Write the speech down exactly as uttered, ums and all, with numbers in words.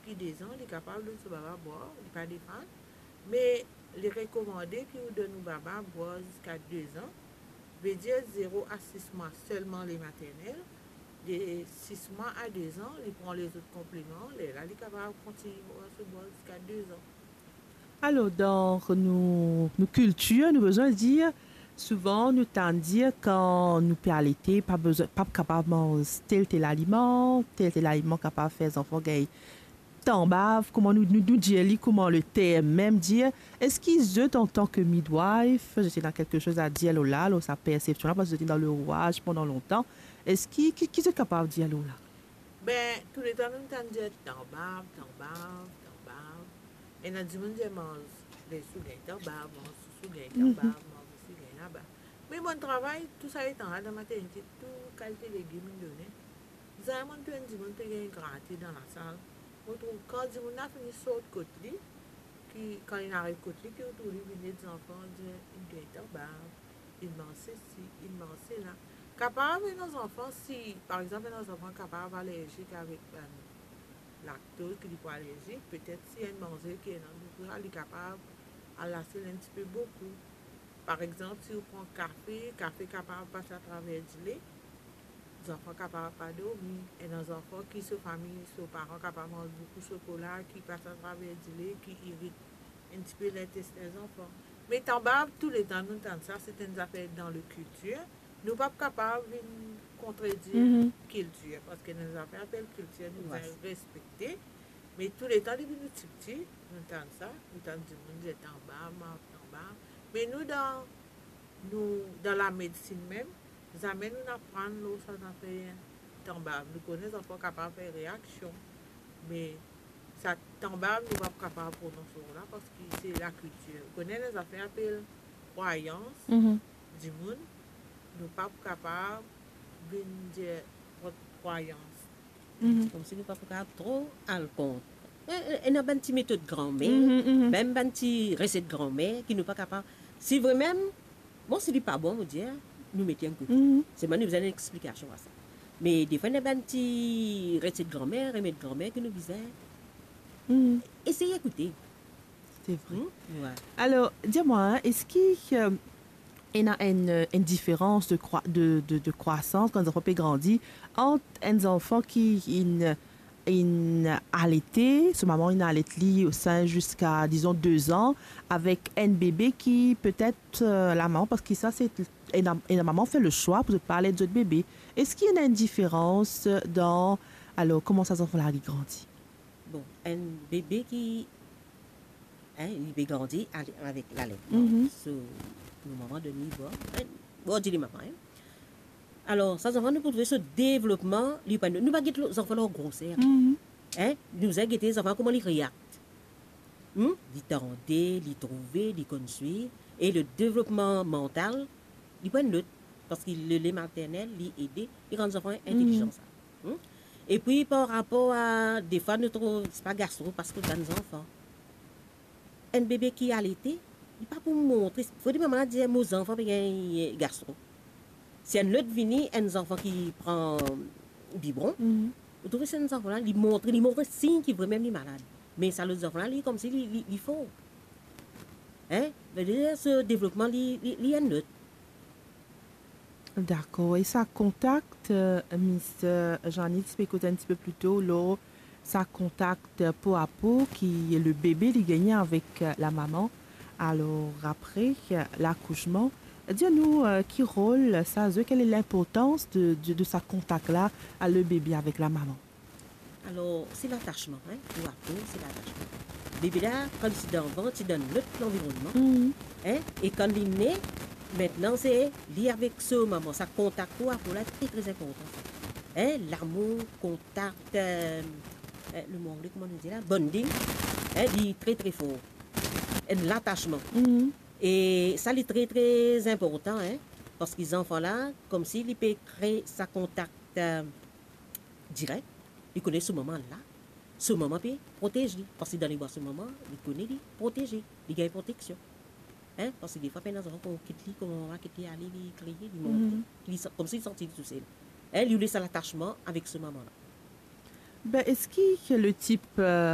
Depi de zan, li kapav donn so baba bwar, li pa defann, me li rekomande ki ou donn ou baba bwar ziska de zan, vedir zero a sis mwa selman le maternel, de sis mwa a de zan, li pran lezot konpliman, lerla li kapav kontign bwar so bwar ziska de zan. Alor, dan nou, nou kiltir, nou bizin dir, souvan nou tann dir kan nou pe alete, pa bizin, pa kapav manz tel, tel aliman, tel, tel aliman kapav fer zanfan gagn tanbav, kouma nou, nou, nou dir li, kouma le term mem dir. Eski zot, antan ke midwife, zot ena kiksoz a dir lor la, lor sa persepsion la, parski zot ena dan lerwaz pandan lontan? Eski, ki, ki zot kapav dir lor la? Ben, touletan nou tann dir tanbav, tanbav, tanbav. Ena dimoun dir manz lesourselin tanbav, manz sourselin tanbav, manz sourselin laba. Me mo'nn travay tou sa letan la dan maternite, tou kalite legim inn done. Zame mo'nn trouv enn dimoun pe gagn grate dan lasal. Mo trouv kan dimoun la fini sort kot li, ki, kan li ariv kot li, ki ou trouv li vinn ed zanfan, dir, inn gagn tanbav, inn manz sesi, inn manz sela. Kapav ena zanfan, si, par exanp, ena zanfan kapav alerzik avek bann laktoz, ki li pou alerzik, petet si enn manze ki ena, li kapav al lasel enn tipe boukou. Par exanp, si ou pran kafe, kafe kapav pas atraver dile, zanfan kapav pa dormi. Ena zanfan ki so fami, so paran kapav manz boukou sokola, ki pas atraver dile, ki irit enn tipe lintestin zanfan. Me tanbav, touletan nou tann sa, se enn zafer dan le kiltir. Nou pa kapav vinn kontredir kiltir, parski ena zafer apel kiltir, nou bizin respekte. Me touletan depi nou tipti, nou tann sa, nou tann dimoun dir tanbav, manz tanbav. Me nou dan, nou, dan lamedsin mem, zame nou aprann lor sa zafer tanbav. Nou kone zanfan kapav fer reaksion, me sa tanbav nou pa kapav prononse lor la, parski se lakiltir. Ou kone ena zafer apel krwayans dimoun, nou pa kapav vinn dir krwayans. Komsi nou pa pou kapav tro al kont. E, e, ena bann ti metod granmer, mem bann ti reset granmer ki nou pa kapav. Si vremem, bon, si li pa bon, mo dir, nou mete enn kote. Selman nou bizin enn explikasion a sa. Me defwa, ena bann ti reset granmer, remed granmer ki nou bizin esey ekoute. C'est vrai. Alor, dir mwa, eski, euh, ena enn, euh, enn diferans de krwa-, de, de, de krwasans kan zanfan pe grandi ant enn zanfan ki inn, inn alete, so mama inn alet li o sein ziska, dizon, de zan, avek enn bebe ki petet, euh, lamama, parski sa se ena, ena mama fer le swa pou zot pa alet zot bebe. Eski ena enn diferans dan, alor, kouma sa zanfan la li grandi? Bon, enn bebe ki, hein, li pe grandi ale-, avek laletman. So, nou mama donn li bwar, hein, bwar dile mama, hein. Alor, sa zanfan, nou pou trouve so devlopman, li pa, nou pa get zanfan lor groser. Hein? Nou bizin gete zanfan kouma li reakt. Hmm? Li tande, li trouve, li konn swiv. E le devlopman mantal, li pou enn lot. Parski le, le maternel, li ede, li rann zanfan intelizian sa. Hmm? Epi par rapor a, defwa nou trouv, se pa gastro, parski bann zanfan. Enn bebe ki alete, li pa pou montre, fode mama la dir, mo zanfan pe gagn gastro. Si enn lot vini, enn zanfan ki pran bibon, ou trouve si enn zanfan la, li montre, li montre sign ki vremem li malad. Me sa lot zanfan la, li komsi li, li, li for. Hein? Vedir so devlopman li, li, li enn lot. Dakor. E sa kontak, euh, Miss, euh, Jeannie ti pe koz enn tipe pli to lor sa kontak po a po ki le bebe li gagne avek, euh, lamama. Alor apre, euh, lakousman, dir nou, euh, ki rol sa zwe, quelle est l'importance de, de, de sa kontak la, le bebe avek lamama? Alor, se latasman, hein, po a po, se latasman. Bebe la, kan li ti dan vant, ti dan lot lanvironnman, hein, e kan li ne, aster se li avek so mama, sa kontak po a po la, tre, tre inportan. Hein, lamour, kontak, euh, euh, le mo angle, kouma nou dir la, bonding, hein, li tre, tre for. Enn latasman. E sa, li tre, tre inportan, hein, parski zanfan la, komsi li pe kre sa kontak, euh, direk, li kone so mama la, so mama pe protez li, parski dan lebra so mama, li kone li proteze, li gagn proteksion. Hein? Parski defwa, pena zanfan, kan ou kit li, kan mama kit li ale, li kriye, li monte, li sa-, komsi li santi li tousel. Hein? Li oule sa latasman avek so mama la. Ben, eski le tip, euh,